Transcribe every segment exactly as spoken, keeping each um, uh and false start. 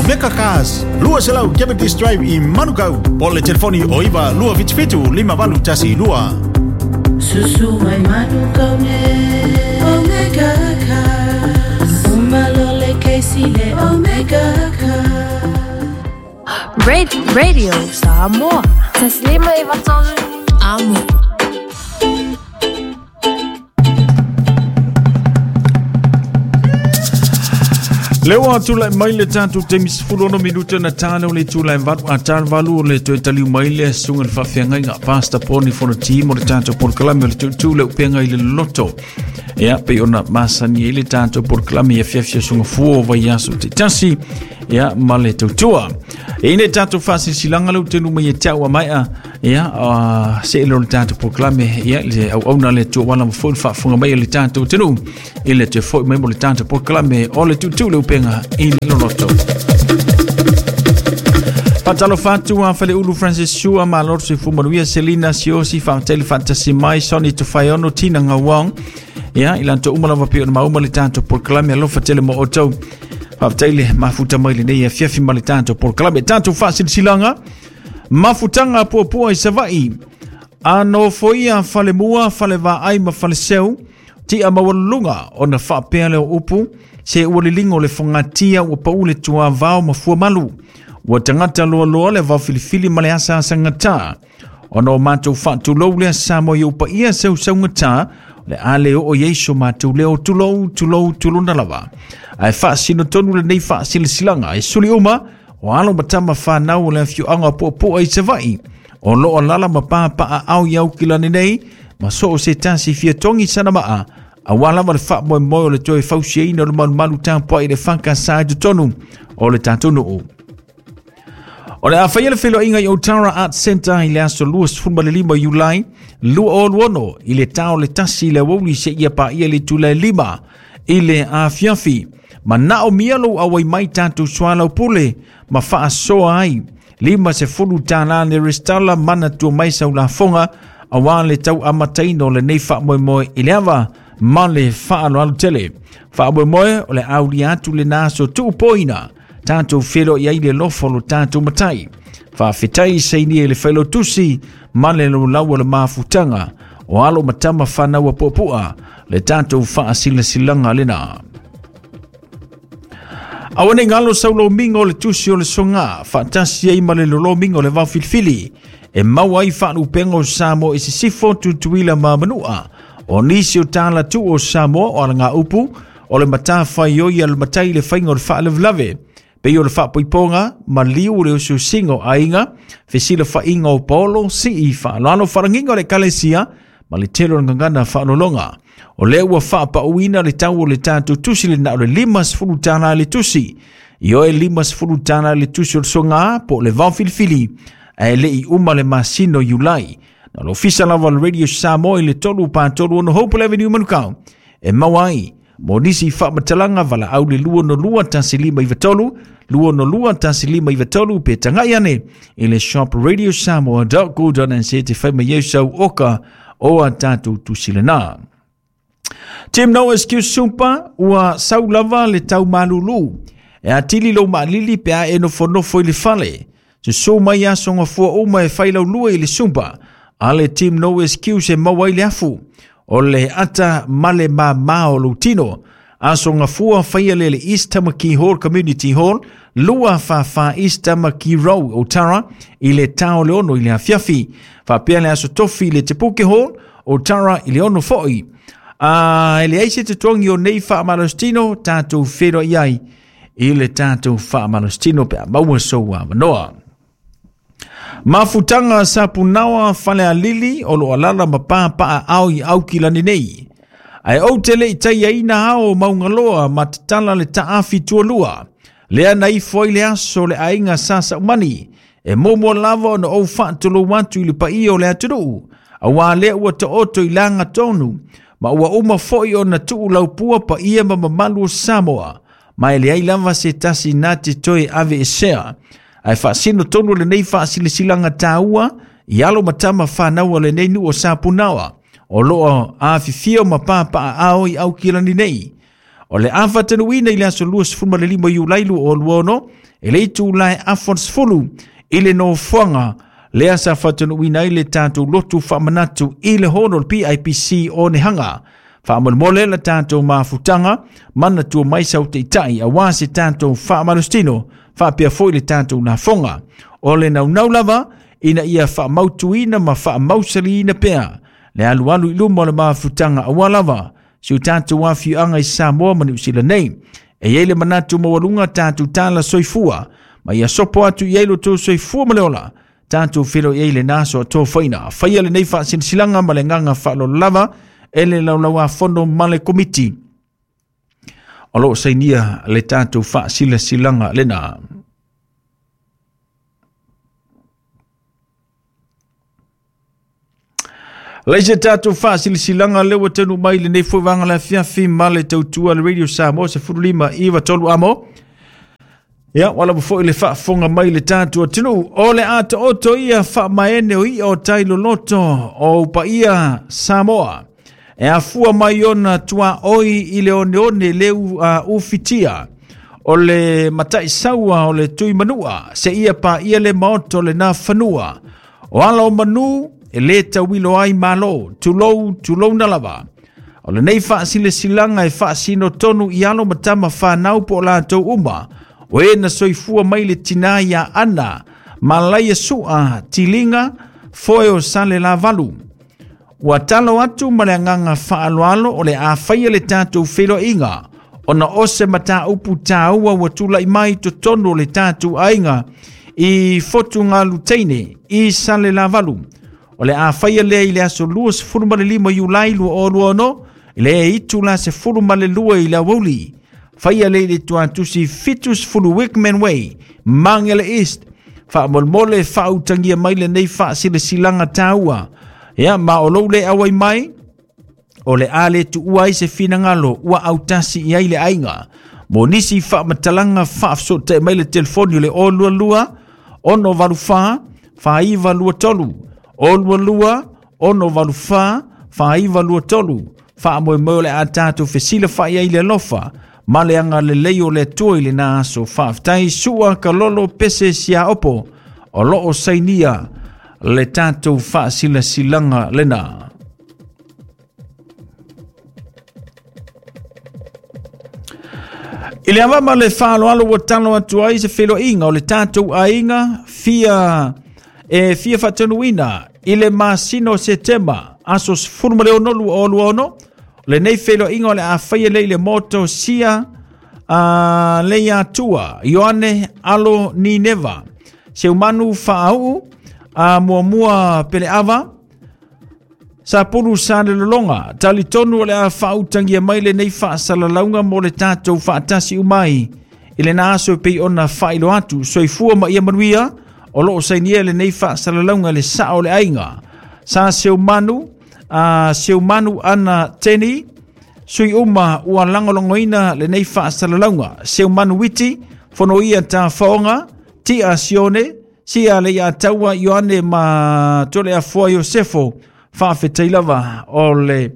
Omega Cars, lua selau Cavendish Drive i Manukau. Po le telefoni o iwa lua fitu fitu lima valu tasi lua. Susu mai Manukau ne Omega Cars. Umalole Casey le Omega Cars. Radio Samoa. Taslima i vatolu. Amo. Lewa tula mai le tatu te misfulo no minuta na talo le tula valu a tal valu le toe taliu mai le sunga le faafeagaiga Pastor Poni Fonoti mo le tatou polokalame le tutu le upega i le loto. Ia pe ona masani i le tatou polokalame ia fiafia sunga fua o vaiaso te tasi ia ma le tautua. E ine tatou faasilasilaga le utenu mai e tau a maea ia uh, se le tatou polokalame ia le auauna le tuuala ma foi le faafofoga mai le tatou tenu i le toe foi mai mo le tatou polokalame o le tutu le upega i le loloto. Patalo fatu a Faleulu Francis Sua Malor Sifu Manuia Selina Siosi Faatele Fatasi Mai Sonny Tufaiono Tina Ngawang ia i lanto uma lava pe ona mauma le tatou polokalame alofa tele mo outou. Faafetai mafuta mai lenei afiafi ma le tatou polokalame tatou faasilasilaga mafutaga puapua i Savaii a nofoia falemua falevaai ma faleseu tia maualuluga ona faapea leo upu se ua liligo le fogatia ua pau le tuavao ma fuamalu ua tagata loaloa le vaofilifili ma le asaasagatā ona o matou faatulou lea Samoa i ou paia seusaugatā le a le oo i ai so matou leo tulou tulou tulona lava ae faasinotonu lenei faasilasilaga e suli uma o alo ma tama whanau o le afioaga puapua i Savaii o loo lala ma papaaao i Aukilani nei ma so o se tasi fiatogi sana maa auā lava le faamoemoe o le toe fausiaina o le malumalu tapuai le fakasā i totonu o le tatou nuu. O le a faia le feloaiga i Otara Art Centre i le aso luasefulumalima Iulai lua o luono i le tao le tasi i le aoauli seia paia le itula e lima i le afiafi. Manao mia lou auai mai tatou soalaupule ma faasoa ai lima sefulu tālā le restala manatua mai saulafoga auā le tau amataina o lenei faamoemoe i le ava ma le faaaloalo tele. Faamoemoe o le aulia atu lena aso tuupoina tatou feloai ai le alofa o lo tatou matai. Faafetai saini e le failotusi ma le laulau o le mafutaga o alo ma tama whanau a puapua le tatou faasilasilaga lena. Aua nei galo saulomiga o le tusi o le soga faatasi ai ma le lolomiga o le vaofilifili e maua ai faalupega o Samoa i sisifo Tutuila ma Manua o nisi o talatu o Samoa o alagaupu o le matafaioi a le matai le faiga o le faalavelave pei o le faapoipoga ma liu le usiusiga o aiga fesilafaiga o paolo sii faaloalo faalagiga o le ekalesia ma le tele o le gagana faalologa. O lea ua faapauina le tau o le tatou tusi le na o le lima sefulu tālā le tusi. I oe lima sefulu tālā le tusi o le sogā po o le vaofilifili ae le'i uma le masina o Iulai. Na le ofisa lava o le Radio Samoa i le tolu patolu ono Hopewell Avenue Manukau e maua ai mo nisi faamatalaga valaau le lua ono lua tasi lima iva tolu lua ono lua tasi lima iva tolu pe tagai ane i le shop radio samoa dot co dot n z te fai mai ai sau oka o a tatou tusi lenā. Team No Excuse Super ua sau lava le tau malulu e atili lou maalili pe a e nofonofo i le fale. Susū mai aso gafua uma e failaulua i le Super a le Team No Excuse e maua ai le afu o le ata ma le māmā o lou tino. Aso gafua faia le le East Tamaki Hall Community Hall lua whawha East Tamaki Road Otara i le tao le ono i le afiafi. Faapea le aso tofi i le Te Puke Hall Otara i le ono foi. A e leai se totogi o nei faamalositino tatou feloai ai i le tatou faamalositino pe a maua sou avanoa. Mafutaga sapunaoa falealili o loo alala ma papaaao i Aukilani nei. Ae ou te le'i taiaina ao maugaloa ma tatala le taafi tualua. Lea na ifo ai le aso le aiga sa saumani. E muamua lava ona ou faatulou atu i le paia o le atunuu. Auā lea ua taoto i laga tonu. Ma ua uma foi ona tuu laupua paia ma mamalu o Samoa. Ma e leai lava se tasi na te toe aveesea. Ae faasino tonu lenei faasilasilaga tāua i alo ma tama whanau o lenei nuu o Sapunaoa. O loo afifio ma papaaao i Aukilani nei. O le afa tenuina i le aso lua sefulu ma le lima Iulai lua o lua ono, e le itu lae afon sefulu i le nofoaga lea sa faatanuuina ai le tatou lotu faamanatu i le hono o le P I P C o Nehaga. Faamolemole la tatou mafutaga manatua mai sautaitai auā se tatou faamalositino faapea foi le tatou lafoga. O le naunau lava ina ia faamautuina ma faamausaliina pea le alualu i luma o le mafutaga auā lava si o tatou afioaga i Samoa ma Niu Sila nei. E iai le manatu maualuga tatou tala soifua ma ia sopo atu i ai lo tou soifua ma le ola tatou felo i ai le naso a tofaina. Faia lenei faasilasilaga ma le agaga faaaloalo lava e le laulauafono ma le komiti o loo sainia le tatou faasilasilaga lena. Laise tatou faasilasilaga lea ua taunuu mai lenei foi vaega le afiafi ma le tautua le Radio Samoa sefulu lima iva tolu amo. Ia, wala mo foi le faafofoga mai le tatou atunuu. O le ato'oto ia faamaene o ia o tai loloto o upaia Samoa. E afua mai ona tuaoi i le oneone leu uh, ufitia. O le matai saua o le tui manua. Se ia pa ia le maoto le nā fanua. O ala o manu e le tauilo ai malo. Tulou, tulou na lava. O lenei faasilasilaga e faasino tonu i alo matama whanau po o latou uma. O e na soifua mai le tinā ia ana, malaia sua, tilinga, foe o sale la valu. Ua talo atu ma le agaga faaaloalo o le afaia le tatou feiloaiga, ona o se mataupu tāua ua tula'i mai totonu o le tatou aiga i Fotugaluteine i sale la valu. O le afaia lea i le aso lua sefulu ma le lima Iulai lua o lua ono, i le itu la sefulu ma le lua i le aoauli. Faia le le tuatusi fitu sefulu Wickman Way, Mangele East. Faamolemole faautagia mai lenei faasilasilaga tāua. Ia, ma o lou le auai mai, o le a le tuua ai se finagalo ua autasi i ai le aiga. Mo nisi faamatalaga faafesootai mai le telefoni o le o lua lua, ono valu fa, faaiva lua tolu. O lua lua, ono valu fa, faaiva lua tolu. Faamoemoe o le a tatou fesila faai ai le alofa ma le agalelei o le Atua i lena aso. Faafetai sua kalolo pese siaopo o loo sainia le tatou faasilasilaga lena. I le avama le faaaloalo ua talo atu ai se feiloaiga o le tatou aiga fia e fia faatanuuina i le masina o Setema aso sefulu ma le ono lua o lua ono. Lenei feiloaiga o le a faia lea i le moto sia uh, leia atua Ioane alo Nineva Seumanu faauu a muamua peleava Sapulu sa le lologa talitonu o le a faautagia mai lenei faasalalauga mo le tatou faatasi umai i lena aso e pei ona faailoa atu. Soifua ma ia manuia o loo sainia lenei faasalalauga le sao o le aiga sa Seumanu a Seumanu ana teni sui uma ua lagolagoina lenei faasalalauga. Seumanu witi fonoia tafaoga tia Sione sia le ia taua Ioane ma tole afoa Iosefo faafetai lava o le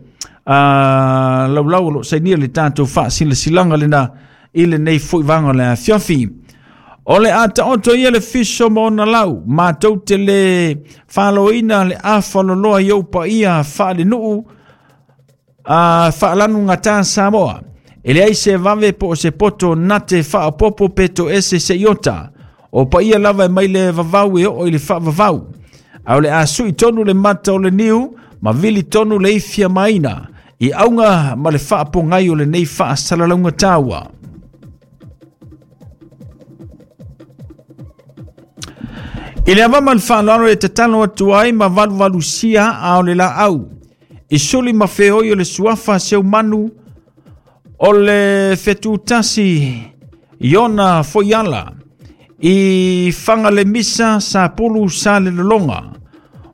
uh, laulau o loo sainia le tatou faasilasilaga lena i lenei foi vaga o le afiafi. O le a taoto ia le fiso ma ona lau, matou te le faaloina le afaloloa i ou paia faalenuu a faalanu gata Samoa. E leai se vave po o se poto nate faaopopo pe toese se iota. O paia lava e mai le vavau e oo i le faavavau. A o le a sui tonu le mata o le niu, ma vili tonu le ifia maina, i auga ma le faapogai o lenei faasalalauga taua. I le avama le faaaloalo e tatalo atu ai ma valuvalusia a o le laau. I suli ma feoi o le suafa Seumanu o le fetutasi Iona Foiala i Fagalemisa Sapulu sa le lologa.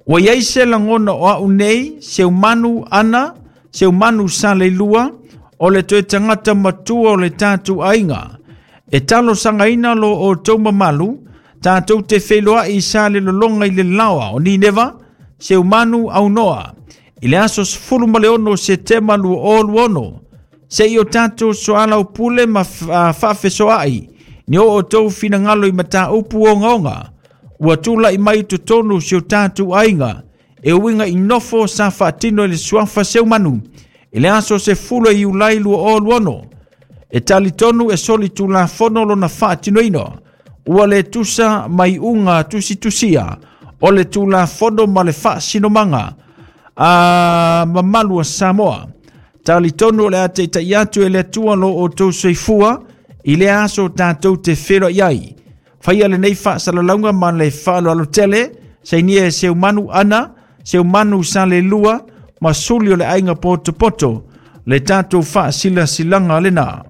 Ua iai se lagona o au nei Seumanu ana Seumanu sa le lua o le toe tagata matua o le tatou aiga. E talosagaina lo outou mamalu tatou te feiloai sa le lologa i le laoa o Nineva Seumanu aunoa i le aso sefulu ma le ono Setema lua o lua ono Se i o tatou soalaupule ma faafesoaai ni o outou finagalo i mataupu ogaoga ua tula'i mai totonu si o tatou aiga e uiga i nofo sa faatino i le suafa Seumanu i le aso sefulu e Iulai lua o luaono. E talitonu e soli tulafono lona faatinoina ua le tusa mai uga tusitusia o le tulafono ma le faasinomaga a mamalu a Samoa. Talitonu o le a taita'i atu e le Atua lo outou soifua i le aso tatou te feloai ai. Faia lenei faasalalauga ma le faaaloalo tele, sainia e Seumanu Ana, Seumanu Salelua ma Suli o le Aiga Potopoto, le tatou faasilasilaga lena.